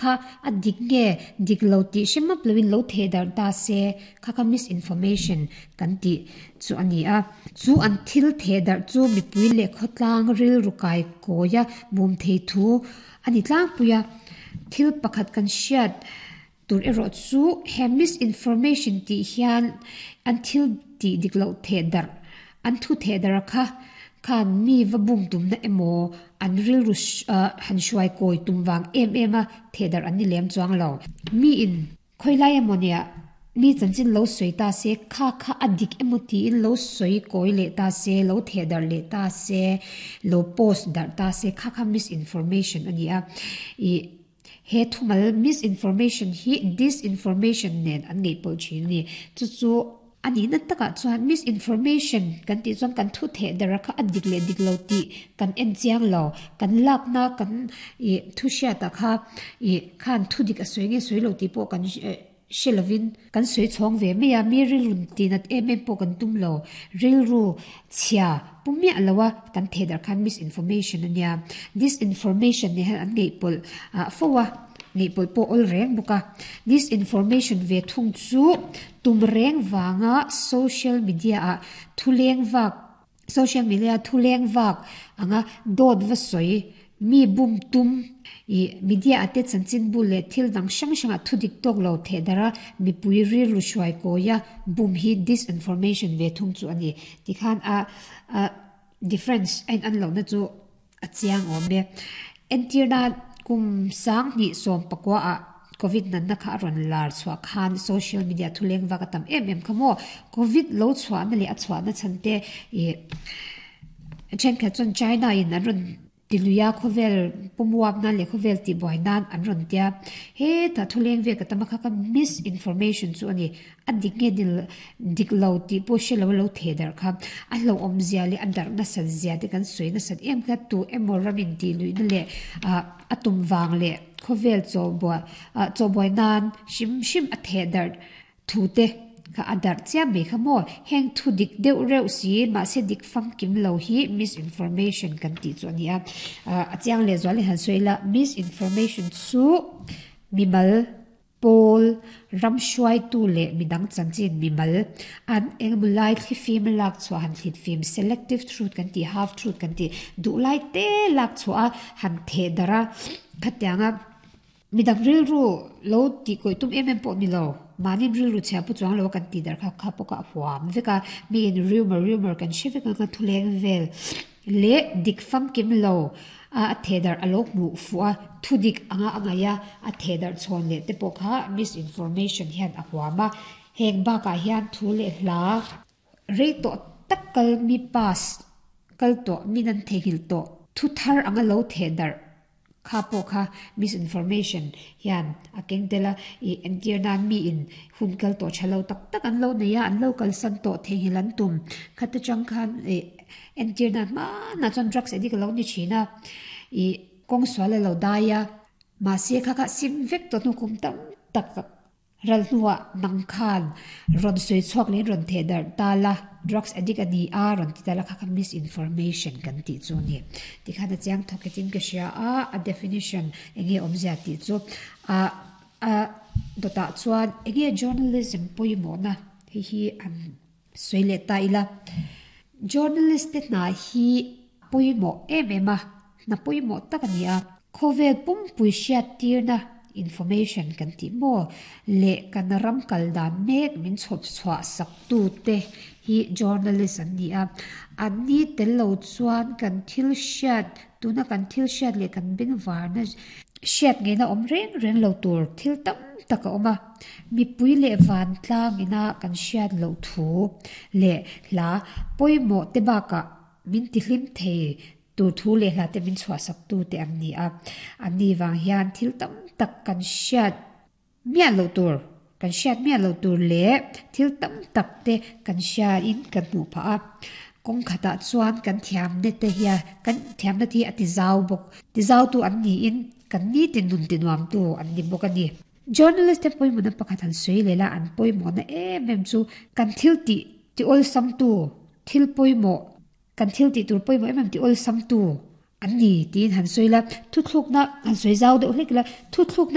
kha a dik nge dik lo tih hre map loin lo theh darh ta se, kha kha misinformation kan tih chu a ni a. Chu an thil theh darh chu mipui leh khawtlang rilru kai kawia bum thei thu a ni tlangpui a. Thil pakhat kan hriat tur erawh chu he misinformation tih hian an thil tih dik loh theh darh, an thu theh darh kha khan mi va bum tumna emaw an rilru han hruai kawi tum vang em em a theh darh an ni lem chuang lo. Miin Khawilai emaw nia mi chanchin lo sawi ta se, kha kha a dik emaw tiin lo sawi kawi leh ta se, lo theh darh leh ta se, lo post darh ta se, kha kha misinformation a ni a. Ih he thumal misinformation hi disinformation nen an ngaihpawlh thin a ni. Chu chu A nihna takah chuan misinformation kan tih chuan kan thu theh dara kha a dik leh dik lo tih kan en chiang lo. Kan lakna kan ih thu hriatah kha ih khan thu dik a sawi nge sawi lo tih pawh kan hre lovin kan sawi chhawng ve mai a, mi rilru tihnat em em pawh kan tum lo. Rilru chhia pu miah lo a kan theh dar khan misinformation a nia. Disinformation nen hian an ngaihpawlh fo a. Ngaihpawlh pawh awl reng bawk a. Disinformation ve thung chu tum reng vanga social media ah thu leng vak social media thu leng vak anga dawt va sawi mi bum tum ih media ah te chanchinbu leh thil dang hrang hrang ah thu dik tawk lo theh darh a mipui rilru hruai kawi a bum hi disinformation ve thung chu a ni. Tikhan a a difference a in an lohna chu A chiang awm e. Entirna kum 2019 ah Covid natna kha a rawn lar chhuah khan social media thuleng vak a tam em em kha maw? Covid lo chhuahna leh a chhuahna chhan te ih thenkhat chuan China in an rawn ti lui a khawvel pumuap nan leh khawvel tihbuai nan an rawn tia. Hetah thuleng vek a tam a kha kha misinformation chu a ni. A dik nge dil dik lo tih pawh hre lo a lo theh darh kha. A hlauhawm zia leh a darh nasat zia te kan sawi nasat em kha tu emaw ram in tih luihna leh ah a tum vang leh khawvel chaw buai ah chaw buai nan hrim hrim a theh darh thu te kha a darh chiam mai kha maw. Heng thu dik deuh reuh si mahse dik famkim lo hi misinformation kan tih chu a ni a. Ah a chiang leh zual in han sawi ila misinformation chu mimal Pawl, ram hruaitu leh midang chanchin mimal an engemaw lai thlifim lak chhuah han thlit fim, selective truth kan tih, half truth kan tih, duh lai te lak chhuah a han theh darh a, khatianga midang rilru lo tih kawih tum em em pawh ni lo, mahni rilru chhia pu chuang lo a kan tih darh kha kha pawh kha a huam vek a, miin rumour rumour kan hre vek ang a thuleng vel. Leh dik famkim lo a a thehdarh a lo hmuh fuh a, thudik anga a ngaih a, a thehdarh chhawn leh te pawh kha misinformation hian a huam a. Heng bakah hian thu leh hla rei tawh tak kal mi pass kal tawh min an theihnghilh tawh thu thar anga lo thehdarh Kha pawh kha misinformation hian a keng tel a, ih entir nan miin hun kal tawh tha lo tak tak an lo nei a, an lo kalsan tawh theihnghilh an tum. Khata chang khan ih entir nan hmanah chuan drugs addict a lo ni thin a, ih kawng sual a lo dai a, mahse kha kha sim vek tawh hnu kum tam tak Ral hnuah nang khan rawn sawi chhuak leh in rawn theh darh ta la, drugs addict a ni a rawn ti ta la kha kha misinformation kan tih chu a ni. Tikhan a chiang thawk hetin ka hria a, a definition enge awmzia tih chu a a dawtah chuan enge journalism pawimawhna hei hi an sawi leh ta ila. Journalist te hna hi pawimawh em em a, hna pawimawh tak a ni a. Khawvel pumpui hriattirna, information kan tih maw, leh kan ram kal dan mek min chhawp chhuah sak tute hi journalist an ni a. Anni tel lo chuan kan thil hriat, tuna kan thil hriat leh kan bengvarna hriat ngeina awm reng reng lo tur thil tam tak a awm a. Mipui leh vantlang ina kan hriat loh thu leh hla pawimawh te bakah min tihlim thei tur thu leh hla te min chhuahsak tu te an ni a. Anni vang hian thil tam tak kan hriat miah loh tur, kan hriat miah loh tur leh thil tam tak te kan hriain kan hmuh phah a. Kawng khatah chuan kan thiamna te hian kan thiamna te hi a ti zau bawk. Ti zautu an niin kan nitin nun ti nuamtu an ni bawk a ni. Journalist te pawimawhna pakhat han sawi leh la, an pawimawhna em em chu kan thil tih ti awlsamtu, thil pawimawh, kan thil tih tur pawimawh em em ti awlsamtu an ni tiin han sawi la, thuthlukna han sawi zau deuh hlek ila, thuthlukna.